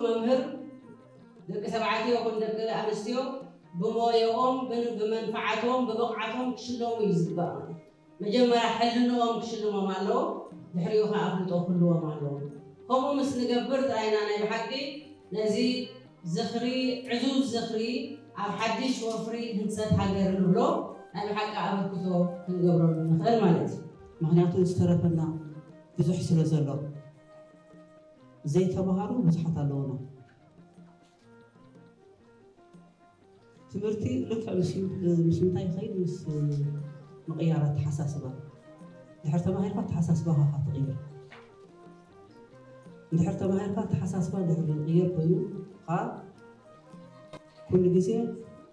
መምህር ደቂ ተባዕትዮ ይኹን ደቂ ኣንስትዮ ብሞያኦም፣ ብን-፣ ብመንፍዓቶም፣ ብብቕዓቶም ክሽለሙ እዩ ዝግባእ። መጀመርያ ሕልንኦም ክሽልሞም ኣለዎ፣ ድሕሪኡ ኸዓ ኣፍልጦ ክህልዎም ኣለዎ። ከምኡ ምስ ንገብር ጥራይና ናይ ብሓቂ ነዚ ዝኽሪ፣ ዕዙዝ ዝኽሪ ኣብ ሓድሽ ወፍሪ ህንፀት ሃገር ንብሎ ናይ ብሓቂ ኣበርክቶ ክንገብረሉ ንኽእል ማለት እዩ። ምኽንያቱ ዝተረፈና ብዙሕ ስለ ዘሎ፣ ዘይተምሃሩ ብዙሓት ኣለዉና። ትምህርቲ ልክዕ ምስ፣ ምስ ምንታይ ይኸይድ? ምስ ምቕያር ኣተሓሳስባ። ድሕር ተማሂርካ ኣተሓሳስባኻ ኢኻ ትቕይር። እንድሕር ተማሂርካ ኣተሓሳስባ ድሕር ዝቕየር ኮይኑ፣ ኸዓ ኩሉ ግዜ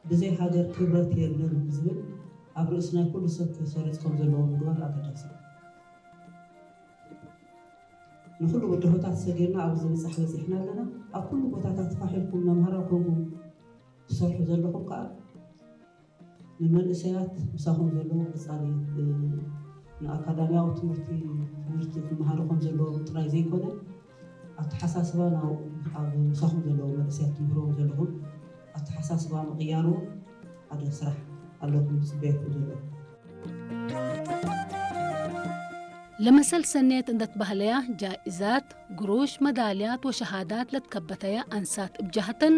ብዘይ ሃገር ክብረት የለን ዝብል ኣብ ርእሲ ናይ ኩሉ ሰብ ክሰርጽ ከም ዘለዎ ምግባር ኣገዳሲ እዩ። ንኹሉ ብድሆታት ሰጊርና ኣብዚ ምብጻሕ በጺሕና ኣለና። ኣብ ኩሉ ቦታታት ፋሕ ኢልኩም መምሃራን ኮንኩም ትሰርሑ ዘለኹም ከኣ ንመንእሰያት ምሳኹም ዘለዉ ቀጻሊ፣ እ፣ ንኣካዳሚያዊ ትምህርቲ፣ ትምህርቲ ክመሃሩ ከም ዘለዎም ጥራይ ዘይኮነ፣ ኣተሓሳስባ ናብ፣ ኣብ ምሳኹም ዘለዉ መንእሰያት ትምህርዎም ዘለኹም ኣተሓሳስባ ምቕያሩ ሓደ ስራሕ ኣለኩም ዝጽበየኩም ዘሎ። ለመሰል ሰኔት እንደት ባህለያ ጃኢዛት፣ ግሩሽ፣ መዳልያት ወሸሃዳት ለትከበተያ ኣንሳት እብጃህተን፣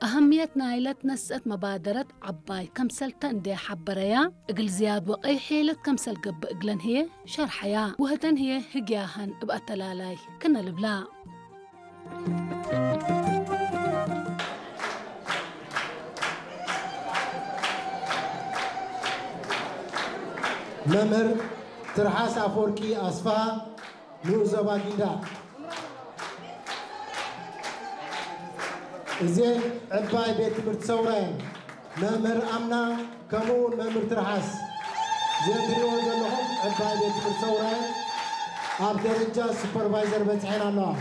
ኣህምየት ናይለት ነስአት መባደረት ዓባይ ከምሰልተ እንደ ሓበረያ፣ እግል ዝያድ ወቀይ ሔለት ከምሰል ገብእ እግለን ህየ ሸርሐያ። ወህተን ህየ ህግያሃን እብ ኣተላላይ ክነ ልብላ። መምህር ትርሓስ ኣፈወርቂ ኣስፍሃ ንኡስ ዞባ ጊንዳዕ። እዘን ዕባይ ቤት ትምህርቲ ሰውራየን መምህር ኣምና ከምኡ እውን መምህር ትርሓስ እዘን ትሪእዎ ዘለኹም ዕባይ ቤት ትምህርቲ ሰውራየን ኣብ ደረጃ ሱፐርቫይዘር በፅሐን ኣለዋ።